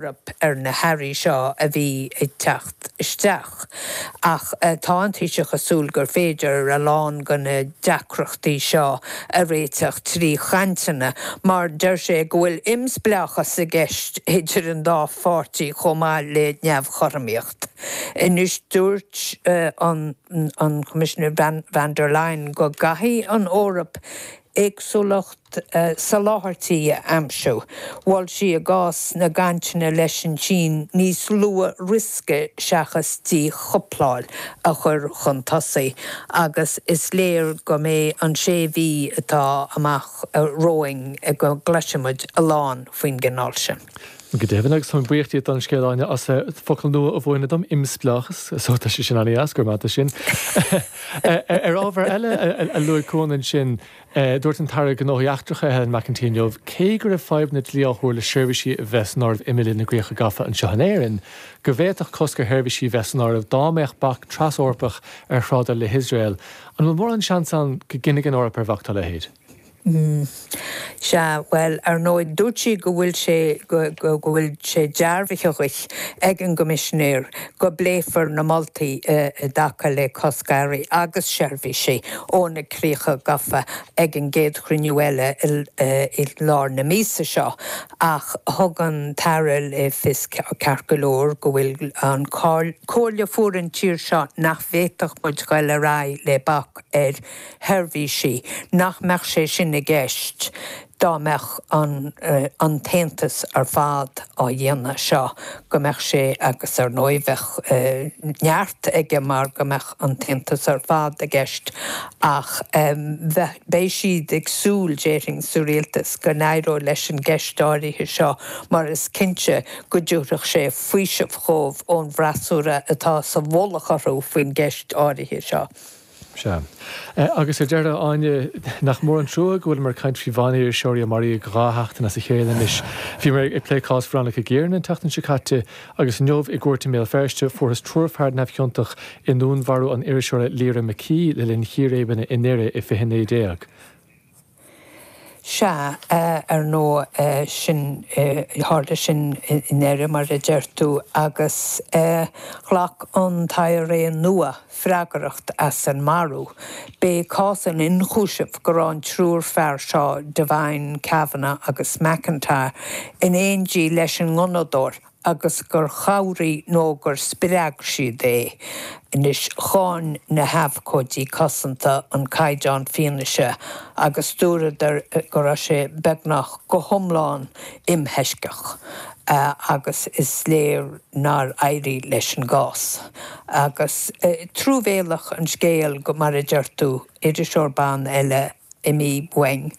Eoraip ar na hearraí seo a bhí ag teacht isteach. Ach tá an Taoiseach ag súil gur féidir a lán de na deacrachtaí seo a réiteach trí chainteanna, mar deir sé go bhfuil imspleáchas i gceist idir an dá pháirtí chomh maith le neamhchothromaíocht. Anois dúirt an Coimisinéir von der Leyen go gcaithfidh an Eoraip éagsúlacht soláthairtí a aimsiú. Mhol sí i gcás na gcainteanna leis an tSín níos lú riosca seachas díchúpláil a chur chun tosaigh agus is léir go mbeidh an sé mhí atá amach romhainn go gcloisfidh muid a lán faoin gcineál sin. Go deimhin, agus táim buíoch díot don scéal, Áine, as focal nua a mhúineadh dom, imspleáchas. So tá sé sin an-dheas, go raibh maith agat as sin. Ar ábhar eile a luaigh Cuan ansin, dúirt an tAire Gnóthaí Eachtracha, Helen McEntee inniu, cé go raibh fadhb na dlí á thuar le seirbhísí a bheith san áireamh i mBille na gCríocha Gafa anseo in Éirinn, go bhféadfadh cosc ar sheirbhísí a bheith san áireamh dá mbeadh bac tras-Eorpach ar thrádáil le hIosrael. An bhfuil mórán seans ann go gcinnfidh an Eoraip ar bhac dá leithéid? Sea, bhuel, ar ndóigh, dúirt sí go bhfuil sé, go bhfuil sé dearbhaithe ag an gCoimisinéir go bpléifear na moltaí i dtaca le cosc earraí agus seirbhísí ó na críocha gafa ag an gcéad chruinniú eile i lár na míosa seo. Ach thug an tAire le fios ceart go leor go bhfuil an comhairle a fuair an tír seo nach bhféadfadh muid dul ar aghaidh le bac ar sheirbhísí, nach mbeadh sé sin i gceist dá mbeadh an an tAontas ar fad á dhéanamh seo, go mbeadh sé, agus ar ndóigh bheadh neart aige mar go mbeadh an tAontas ar fad i gceist, ach bheadh, beidh siad ag súil, déarfainn, sa Rialtas go n-éireoidh leis an gceist áirithe seo mar is cinnte go dtabharfadh sé faoiseamh dhóibh ón bhfreasúra atá sa mhullach orthu faoin gceist áirithe seo. Sea. Agus ar deireadh, a Áine, nach mór an trua go bhfuileamar ag caint faoi bhan-iriseoirí a maraíodh dhá sheachtain as a chéile anois. Bhíomar ag plé cás Veronica Guerin an tseachtain seo caite, agus inniu i gcúirt i mBéal Feirste fuarthas triúr fear neamhchiontach i ndúnmharú an iriseora Lyra McKee le linn chíréibeanna i nDoire i 2019. Sea, ar ndóigh, sin, tharla sin i nDoire, mar a deir tú, agus ghlac an t-IRA nua freagracht as an marú. B'é cás an ionchúisimh go raibh an triúr fear seo, Devine, Kavanagh agus McIntyre, in éindí leis an ngunnadóir, agus gur chabhraigh nó gur spreag siad é. Anois, cháin na habhcóidí cosanta an caighdeán fianaise agus dúradar go raibh sé beagnach go hiomlán imthoisceach agus is léir nár éirigh leis an gcás. Agus truamhéalach an scéal go, mar a deir tú, iriseoir ban eile, imithe uainn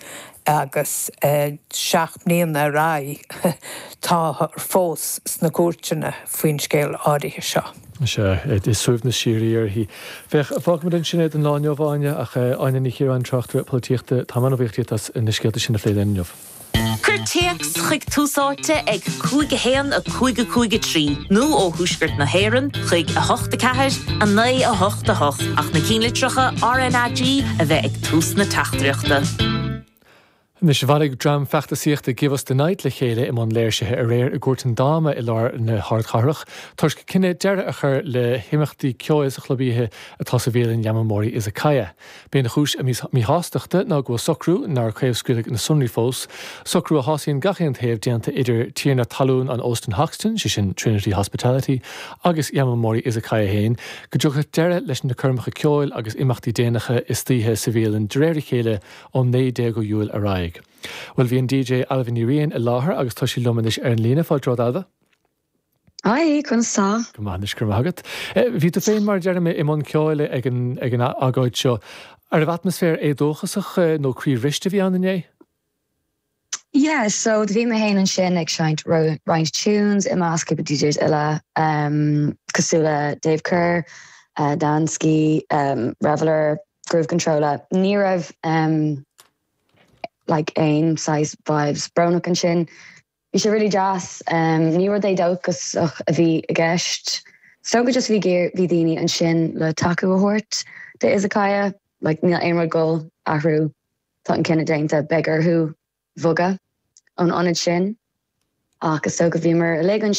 agus 7 mbliana ar aghaidh táthar fós sna cúirteanna faoin scéal áirithe seo. Sea, is suaimhneas síoraí uirthi. Féach, fágfaimid ansin é don lá inniu, a Áine, ach Áine Ní Chiaráin, tráchtaire polaitíochta, táim an-bhuíoch díot as na scéalta sin a phlé linn inniu. Cuir téacs chuig Tús Áite ag 5 1 5 5 3 nó ó thuaisceart na hÉireann chuig 8 4 9 8 8 ach na cinnlitreacha RnaG a bheith ag tús na teachtaireachta. Anois, bhailigh dream feachtasaíochta Give Us The Night le chéile i mbun léirsithe aréir i gCúirt an Dáma i lár na hardchathrach toisc cinneadh deireadh a chur le himeachtaí ceoil sa chlub oíche atá sa bhialann Yamamori Izakaya. B'é an chúis a míshástachta ná go bhfuil socrú, nár craobhscaoileadh na sonraí fós, socrú a shásaíonn gach aon taobh déanta idir tiarna talún an Óstan Hoxton, sé sin Trinity Hospitality, agus Yamamori Izakaya féin, go dtiocfadh deireadh leis na coirmeacha ceoil agus imeachtaí déanacha istoíche sa bhialann de réir a chéile ón 19ú Iúil ar aghaidh. Bhuel, bhí an DJ Ailbhe Ní Riain i láthair agus tá sí liom anois ar an líne. Fáilte romhat, Ailbhe. Hi, conas tá? Go maith anois, go raibh maith agat. Bhí tú féin, mar a deirim, i mbun ceoil ag an ag an agóid seo. An raibh atmaisféar éadóchasach nó croíbhriste a bhí ann inné? Yeah, so do bhí mé féin ansin ag seinnt roinnt tunes i measc cúpla DJs eile cosúil le Dave Kerr, Dansky, Reveller, Groove Controlla. Ní raibh like aon saghas vibes brónach ansin. Bhí sé really deas. Ní rud éadóchasach a bhí i gceist. Is dócha just bhí bhí daoine ansin le tacú a thabhairt do Izakaya. Like níl aon rud ag goil athrú. Tá an cinneadh déanta, beidh orthu bhogadh ón ionad sin. Ach is dócha bhíomar uilig ansin.